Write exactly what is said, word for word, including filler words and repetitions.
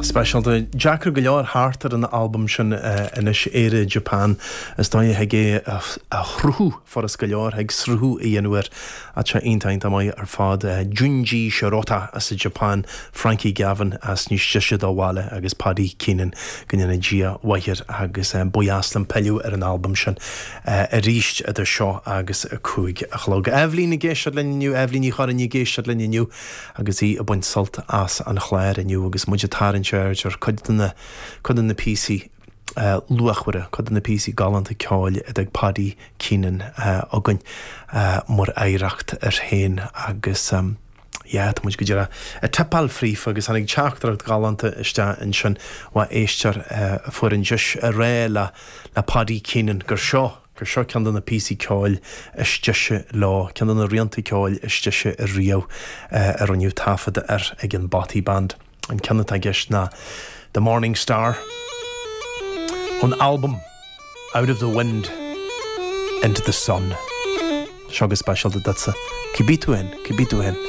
Speisialta deacair go leor thart ar an albam sin anois Éire Japan is dóigh a thig é a shruthú furast go leor thig sruthú a dhéanamh air tá iontach maith ar fad Junji Shirota as an Japan, Frankie Gavin as níos deise dá bhaile agus Paddy Keenan go ndéana Dia mhaith air agus ba dheas liom pilleadh ar an albam sin arís idir seo agus a cúig a chlog. Eibhlín ag éisteacht linn inniu Eibhlín Ní Churraoin ag éisteacht linn inniu agus í ag baint sult as an chlár inniu agus muid ag tarraingt aird ar cuid de na cuid de na píosaí uh, luachmhara cuid de na píosaí galánta ceoil ag Paddy Keenan uh, againn uh, mar oidhreacht air féin agus um, Ja, tá muid go dtí a tippáil fríofa agus tháinig teachtaireacht ghalánta isteach ansin ó éisteoir uh, fuair an deis a rá le le Paddy Keenan gur seo gur seo ceann de na píosaí ceoil is deise leo ceann de na rianta ceoil is deise a riamh uh, a rinneadh taifead air ag an Bothy Band. An ceann atá i gceist ná The Morning Star ón album Out of the Wind into the Sun. Seo go speisialta duitse. Cibé tú in, cibé tú in.